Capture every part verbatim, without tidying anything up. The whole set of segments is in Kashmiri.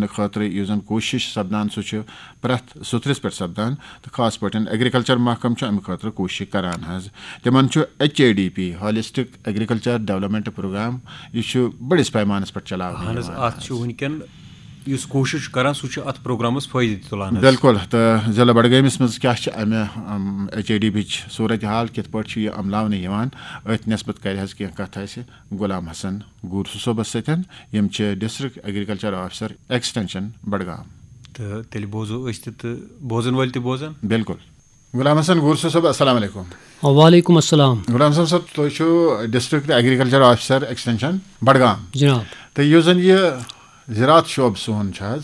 خٲطرٕ یُس زَن کوٗشِش سپدان، سُہ چھُ پرٛٮ۪تھ سُترِس پٮ۪ٹھ سپدان، تہٕ خاص پٲٹھۍ ایگریکلچر محکمہٕ چھُ اَمہِ خٲطرٕ کوٗشِش کران حظ۔ تِمن چھُ H A D P, holistic agriculture development programme, یہِ چھُ بٔڑِس پیمانس پٮ۪ٹھ چلاونہٕ اہن حظ، یِوان اَتھ چھُ حظ۔ وٕنکٮ۪ن یُس کوٗشِش چھُ کران، سُہ چھُ اَتھ پروگرامَس فٲیدٕ تُلان حظ۔ بِلکُل، تہٕ ضلع بڈگٲمِس منٛز کیٛاہ چھِ اَمہِ ایچ اے ڈی بیچ صوٗرت حال، کِتھ پٲٹھۍ چھُ یہِ عملاونہٕ یِوان، أتھۍ نٮ۪سبت کرِ حظ کینٛہہ کَتھ اَسہِ غلام حسن گورسو صٲبَس سۭتۍ، یِم چھِ district agriculture officer extension Budgam. تہٕ تیٚلہِ بوزو أسۍ تہِ تہٕ بوزن وٲلۍ تہِ بوزن۔ بِلکُل۔ غلام حسن گورسو صٲب، السلام علیکم۔ وعلیکم السلام۔ غلام حسن صٲب، تُہۍ چھِو district agriculture officer extension Budgam. جناب۔ تہٕ یُس زَن یہِ زراعت شعبہٕ سون چھُ حظ،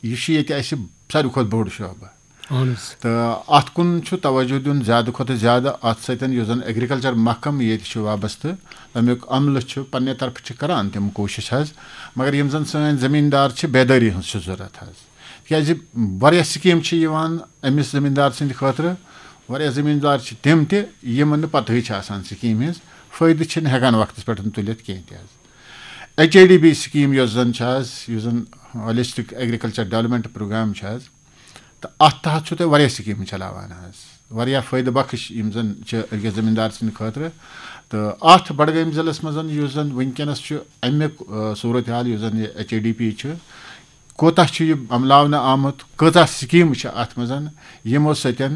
یہِ چھُ ییٚتہِ اَسہِ ساروی کھۄتہٕ بوٚڑ شعبہٕ۔ اہن حظ۔ تہٕ اَتھ کُن چھُ توجہ دیُن زیادٕ کھۄتہٕ زیادٕ، اَتھ سۭتۍ یُس زَن ایگریکلچر محکمہٕ ییٚتہِ چھُ وابستہٕ، تَمیُک عملہٕ چھُ پننہِ طرفہٕ چھِ کران تِم کوٗشِش حظ، مگر یِم زَن سٲنۍ زٔمیٖندار چھِ، بیدٲری ہٕنٛز چھِ ضروٗرت حظ، تِکیٛازِ واریاہ سکیٖم چھِ یِوان أمِس زٔمیٖندار سٕنٛدِ خٲطرٕ، واریاہ زٔمیٖندار چھِ تِم تہِ یِمن نہٕ پتہٕے چھِ آسان سکیٖمہِ ہٕنٛز، فٲیدٕ چھِنہٕ ہٮ۪کان وقتس پٮ۪ٹھ تُلِتھ کینٛہہ تہِ حظ۔ H A D B scheme یۄس زَن چھِ حظ، یُس زَن ہالسٹک ایگریکلچر ڈیولپمنٹ پروگرام چھِ حظ، تہٕ اَتھ تحت چھُو تُہۍ واریاہ سکیٖمہٕ چلاوان حظ، واریاہ فٲیدٕ بخش یِم زَن چھِ أکِس زٔمیٖندار سٕنٛدِ خٲطرٕ۔ تہٕ اَتھ بڈگٲمۍ ضلعس منٛز یُس زَن وٕنکیٚنَس چھُ اَمیُک، آ، صوٗرت حال یُس زَن یہِ ایچ اے ڈی پی چھُ، کوٗتاہ چھُ یہِ عملاونہٕ آمُت، کۭژاہ سکیٖمہٕ چھِ اَتھ منٛز یِمو سۭتۍ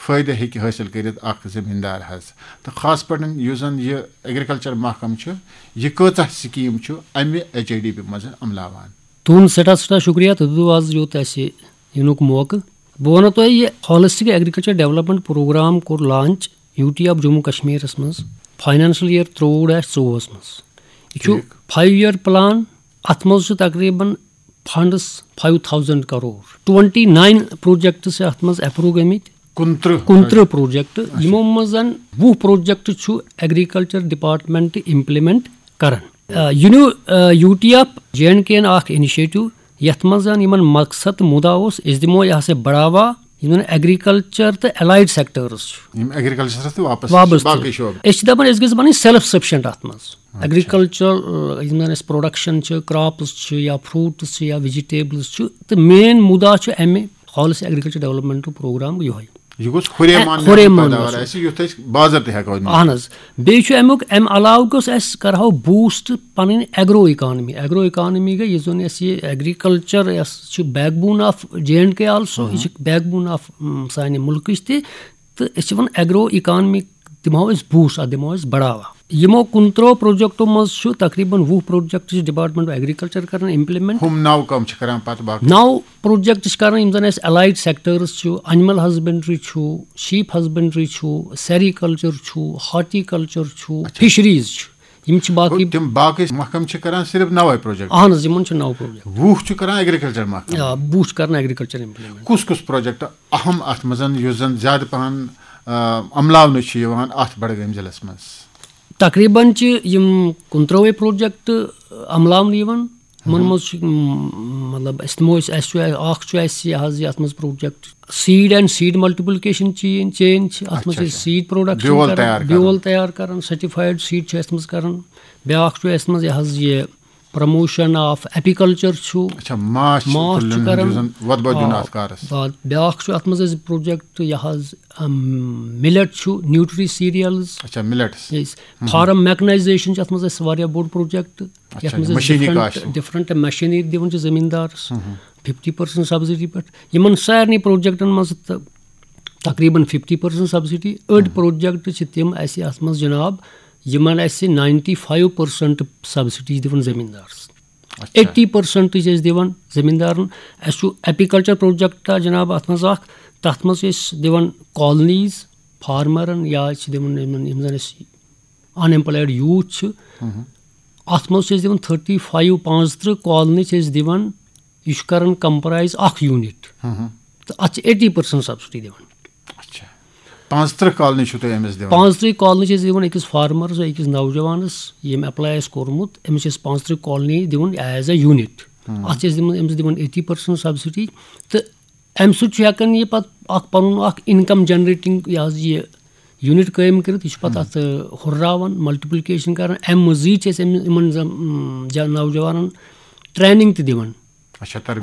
فٲیدٕ ہیٚکہِ حٲصِل کٔرِتھ اَکھ زٔمیٖندار حظ، تہٕ خاص پٲٹھۍ یُس زَن یہِ ایگریکلچر محکمہٕ چھُ، یہِ کۭژاہ سکیٖم چھُ اَمہِ ایچ اے ڈی پی منٛز عملاوان؟ تُہُنٛد سٮ۪ٹھاہ سٮ۪ٹھاہ شُکریہ، تُہۍ دیُتوٕ آز یوٚت اَسہِ یِنُک موقعہٕ۔ بہٕ وَنو تۄہہِ، یہِ ہالسٹک ایگریکلچر ڈیولپمنٹ پروگرام کوٚر launch U T of Jammu کشمیرس منٛز فاینانشل ییر ترٛۆوُہ ڈیش ژوٚوُہس منٛز۔ یہِ چھُ ٹھیٖک۔ فایو ییر پلان، اَتھ منٛز چھُ تقریباً funds five thousand crore, twenty nine projects چھِ اَتھ منٛز اپروو گٔمٕتۍ۔ کُنترٕہ۔ کُنترٕہ پروجیکٹ، اچھا۔ یِمو منٛز زن وُہ پروجیکٹ چھُ ایگریکلچر ڈپارٹمنٹ امپلیمنٹ کران۔ آ، یہِ نیوٗ، آ، U T of J and K یَن اکھ انیشیٹو، یتھ منٛز زن یِمن مقصد تہٕ مُدا اوس، أسۍ دِمو یہِ ہسا بڑاوا یِمن ایگریکلچر تہٕ الائیڈ سیکٹرز چھُ۔ یِم ایگریکلچرس تہٕ واپس وابستہٕ۔ باقٕے شعبہٕ۔ أسۍ چھِ دپان أسۍ گٔژھۍ بنٕنۍ سیلف سفیشنٹ اتھ منٛز۔ اچھا۔ ایگریکلچر، آ، یِم زن اسہِ پروڈکشن چھِ، کراپس چھِ یا فروٹس چھِ یا ویجیٹیبلز چھِ، تہٕ مین مُدا چھُ امہِ ہالسٹک ایگریکلچر ڈیولپمنٹ پروگرام یِہوٚے۔ یہِ گوٚژھ ہُرے اے، مان ہُرے میون مان پیداوار گوٚژھ۔ آسہِ، یُتھ أسۍ بازر تہِ ہٮ۪کو نِتھ۔ اہن حظ۔ بیٚیہِ چھُ امیُک، امہِ علاوٕ گوٚژھ اَسہِ کرہو بوسٹ پنٕنۍ ایگرو اکانمی۔ ایگرو اکانمی گٔے یُس زن اَسہِ یہِ ایگریکلچر یۄس چھِ backbone of J and K also، یہِ چھِ backbone of، م، سانہِ مُلکٕچ تہِ۔ تہٕ أسۍ چھِ وَنان ایگرو اکانمی دِمہو أسۍ بوسٹ، اَتھ دِمہو أسۍ بڑاوا۔ یِمو کُنترٕہو پروجیکٹو منٛز چھُ تقریباً وُہ پروجیکٹ چھِ ڈپارٹمنٹ آف ایگریکلچر کران امپلیمنٹ۔ ہُم نو کم چھِ کران پتہٕ باقٕے؟ نو پروجیکٹ چھِ کران، یِم زن اَسہِ الائیڈ سیکٹرز چھُ، اینیمل ہسبنڈری چھُ، شیپ ہسبنڈری چھُ، سیریکلچر چھُ، ہارٹیکلچر چھُ، اچھا۔ فشریز چھُ، یِم چھِ باقٕے۔ گوٚو تِم باقٕے محکمہٕ چھِ کران صرف نوے پروجیکٹ؟ اہن حظ، یِمن چھِ نو پروجیکٹ۔ وُہ چھِ کران ایگریکلچر محکمہٕ؟ آ، وُہ چھِ کران ایگریکلچر امپلیمنٹ۔ کُس کُس پروجیکٹ اہم اتھ منٛز، یُس زن زیادٕ پہن، آ، عملاونہٕ چھُ یِوان اتھ بڈگٲمۍ ضلعس منٛز؟ تقریباً چھِ یِم کُنترٕہے پروجیکٹ عملاونہٕ یِوان۔ یِمن منٛز چھُ، م، مطلب، أسۍ دِمو أسۍ، اَسہِ چھُ، اکھ چھُ اَسہِ یہِ حظ، یہِ اَتھ منٛز project seed and seed multiplication چین، چین چھِ، اَتھ منٛز چھِ اچھا، أسۍ اچھا۔ سیٖڈ پروڈکشن بیول کران، تیار کران۔ بیول تیار کران، سرٹیفایڈ سیٖڈ چھِ اَتھ منٛز کران۔ بیٛاکھ چھُ اَسہِ منٛز یہِ حظ یہِ پروموشن آف ایپیکلچر چھُ۔ اچھا، ماچھ ماچھ چھُ تُلُن، کران۔ یُس زن وۄدبَد دیُن آ، اَتھ کارَس۔ آ، بیٛاکھ چھُ اَتھ منٛز اَسہِ پروجیکٹ یہِ حظ، ام، مِلٹ چھُ، نیوٗٹری سیٖریلز۔ اچھا، مِلٹس۔ یس۔ فارم میکنائزیشن چھُ اَتھ منٛز اَسہِ واریاہ بوٚڑ پروجیکٹ۔ اچھا، یَتھ منٛز أسۍ machinery different, cost. Different machinery دِوان چھِ زٔمیٖندارَس ففٹی پٔرسنٹ سبسڈی پٮ۪ٹھ۔ یِمن سارنٕے پروجیکٹن منٛز تہٕ تقریباً ففٹی پٔرسنٹ سبسڈی۔ أڑۍ پروجیکٹ چھِ تِم اَسہِ اَتھ منٛز جناب، یِمن اَسہِ ناینٹی فایو پٔرسنٹ سبسڈی چھِ دِوان زٔمیٖندارَس۔ اچھا۔ ایٹی پٔرسنٹ چھِ أسۍ دِوان زٔمیٖندارَن۔ اَسہِ چھُ ایپیکلچر پروجیکٹ جناب اَتھ منٛز اَکھ، تَتھ منٛز چھِ أسۍ دِوان کالنیٖز فارمرَن یا چھِ دِوان یِمن، یِم زَن اَسہِ ان ایمپلایڈ یوٗتھ چھِ، اَتھ منٛز چھِ أسۍ دِوان تھٔرٹی فایو، پانٛژترٕٛہ کالنی چھِ أسۍ دِوان۔ یہِ چھُ کران کمپرائز اکھ یوٗنٹ۔ تہٕ اَتھ چھِ ایٹی پٔرسنٹ سبسڈی دِوان۔ اچھا۔ پانٛژترٕٛہ کالنی چھِو تُہۍ أمِس دِوان؟ پانٛژترٕٛہ کالنی چھِ أسۍ دِوان أکِس فارمرس، أکِس نوجوانس، ییٚمۍ ایپلاے آسہِ کوٚرمُت، أمِس چھِ أسۍ پانٛژترٕٛہ کالنی دِوان ایز اے یوٗنٹ۔ اَتھ چھِ أسۍ دِوان، أمِس دِوان ایٹی پٔرسنٹ سبسڈی۔ تہٕ اَمہِ سۭتۍ چھُ ہٮ۪کان یہِ پَتہٕ اَکھ پَنُن اَکھ اِنکم جنریٹنگ یہِ حظ یہِ یوٗنٹ قٲیِم کٔرِتھ۔ یہِ چھُ پَتہٕ اَتھ، آ، ہُرراوان، ملٹیپلیکیشن کران۔ اَمہِ مٔزیٖد چھِ أسۍ أمۍ، یِمن زَن، اۭں، جا-، نوجوانن ٹریننگ تہِ دِوان۔ اچھا، تربیت